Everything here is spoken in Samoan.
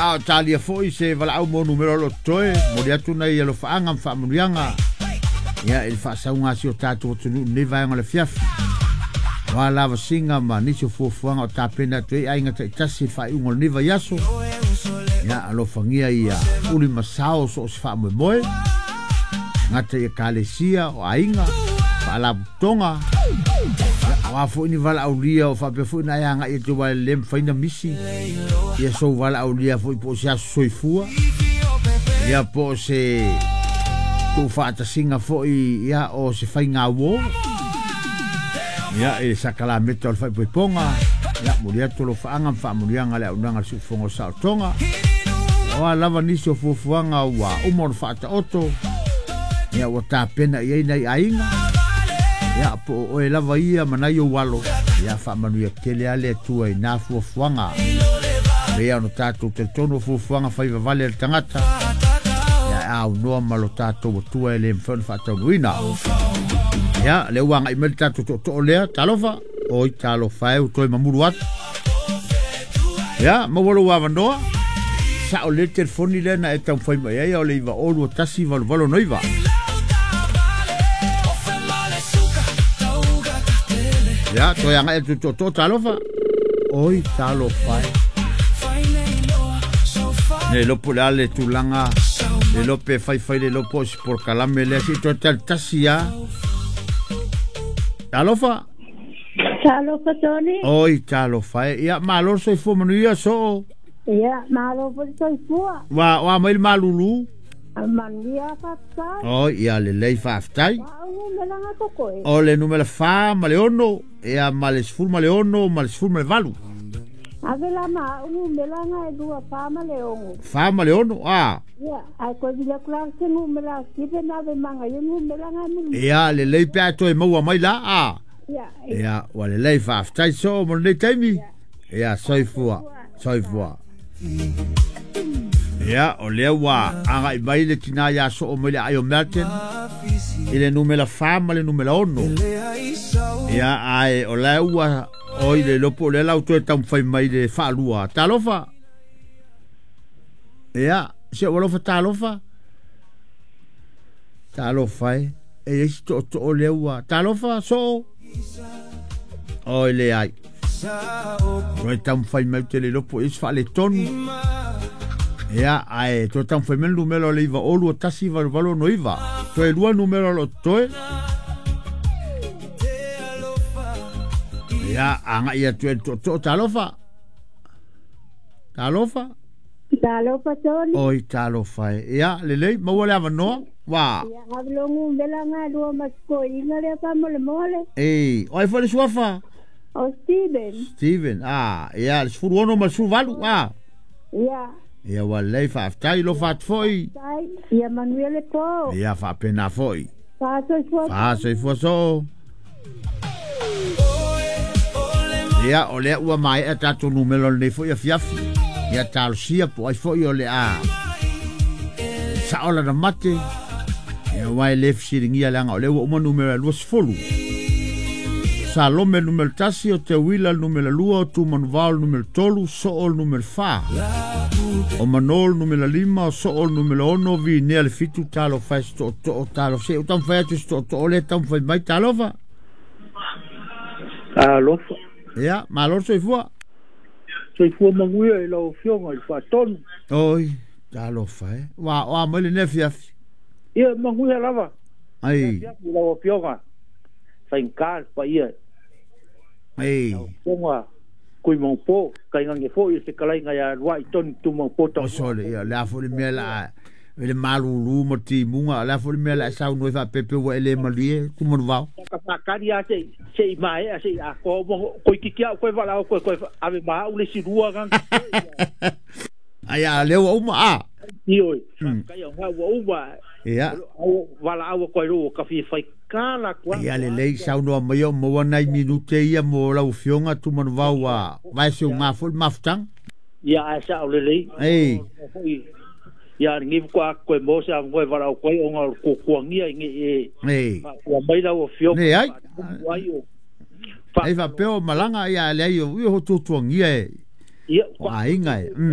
Ia a o talia fo'i se valaau mo numera o lo o totoe, momoli atu nai alofaaga ma faamanuiaga ia i le faasauga a si o tatou atunuu i lenei vaega o le afiafi. Aua lavasiga ma nisi o fuafuaga o tapena atu ai aiga taitasi i le faaiuga o lenei vaiaso. Ia alofagia ia uli ma sao so o se faamoemoe, gata i ekalesia, o aiga, faalapotopotoga, ia aua foi ni valaaulia o faapea foi ona e agai atu aua e le mafai ona misi ia sou valaaulia foi po o se aso soifua, ia po o se tuufaatasiga foi ia o se faigauo ia i le sakalameta o le faaipoipoga. Ia momoli atu alofaaga ma faamanuiaga a le auaunaga a le Siufofoga o Saolotoga. O a lava nisi o fuafuaga ua uma ona faataoto, ia ua tapena i ai nai aiga, ia po o oe lava ia ma nai ou alo, ia faamanuia tele lava le Atua i na fuafuaga. E pei lava ona tatou talitonu o fuafuaga faivavale a le tagata, ia e aunoa ma lo tatou Atua e le mafai ona faataunuuina. Ia, lea ua agai mai le tatou tootoo lea, talofa, oi talofa e, ua toe mamulu atu. Ia, maua lou avanoa. Sao lelei le telefoni lea na e taumafai mai ai, o le 902 1889. Ia, toe agai atu i le tootoo, talofa. Oi, talofa e. Le iloa po o le a le tulaga, le iloa pe faifai le iloa po o se polokalame lea, se i toe talitasi lava. Talofa. Talofa Tony. Oi, talofa e. Ia, malo le soifua manuia, soo. Ia, malo foi le soifua. Ua, oa mai le malulu. Manuia faafetai. Oi, ia lelei faafetai. Wa au numera tokoe. O le numera 4 ma le 6, ia ma le 16 ma le 18. Ave la ma au numera nga e lua 4 ma le 6. 4 ma le 6, a. Ia, ai koe vili atu la se numera Steven ave manga ia numera nga mulu. Ia, lelei pe a toe maua mai la, a. Ia, Ia, ua lelei faafetai soo mo lenei taimi. Ia, soifua, soifua. Ia, o lea ua agai mai le tinā iā soo mai le aai o Melton i le numera 4 ma le numera 6. Ia, ae o la ua oi le iloa po o lea la ua toe taumafai mai le faalua. Talofa. Ia, si ou alofa talofa. Talofa e. E i ai si tootoo lea ua. Talofa, soo. Oi leai. Toe taumafai mai ou te le iloa po o i ai se faaletonu. Ia, ae toe taumafai mai le numera o le 902 18 89. Toe lua numera o lo o totoe. Ia, agai atu e le tootoo, talofa. Talofa. Talofa Tony. Oi, talofa e. Ia, lelei, maua le avanoa. Wa. Ia, ave lo numera nga lua masikoina lea fa mo le mole. Ei, o ai foi le suafa? O Steven. Steven, ah, ia, le 16 ma le 18, ah. Ia. Ia, ua lelei, faafetai, alofa atu foi. Tai, ia manuia le po. Ia, faapena foi. Faasoifua. Faasoifua soo. Ia, o lea ua maea tatou numera o lenei foi afiafi. Ia talosia po o ai foi o le a sao lana mate. Ia, aua e le fesiligia leaga o lea ua uma numera e 20. Salome le numera 1, o Teuila le numera 2, o Tumanuvao le numera 3, Soo le numera 4. O Mano le numera 5, o Soo le numera 6, Vinea le 7, talofa e se tootoo, talofa. Se i ou taumafai atu i se tootoo lea e taumafai mai, talofa. Alofa. Ia, malo le soifua. Soifua manuia i lau Afioga i le Faatonu. Oi, talofa e. Ua oa mai lenei afiafi. Ia, manuia lava. Ai. Afiafi i lau Afioga. Faigata le paia. Ei. Lau Afioga Kuimaupo, tainane foi o se talaiga ia Luai Toni Tumaupo O sole, ia, o le a foi le mea la a i le malulu ma le timuga, o le a foi le mea la e saunoa ai faapea ua e le malie Tumanuvao. Ka faatali lava se i maea se i atoa uma toeitiiti lava ou toe valaau atu e toe ave ma au le isi lua na. Ai a lea ua uma a. Ioe, faafetai o lena ua uma. Ia. O valaau atu ai loa ua ta fia fai tala atu lava. Ia lelei saunoa mai o maua nai minute ia mo lau Afioga Tumanuvao ua vaeseuga foi le mafutaga. Ia ae sao lelei. Ei. Ia lenei faatoa toe maua se avanoa e valaau atu ai ona o le tuatuagia i nei e Ei. faatua mai lau Afioga. Leai. Ai o Ai faapea o malaga ia leai o ia o tuatuagia e ia o aiga e.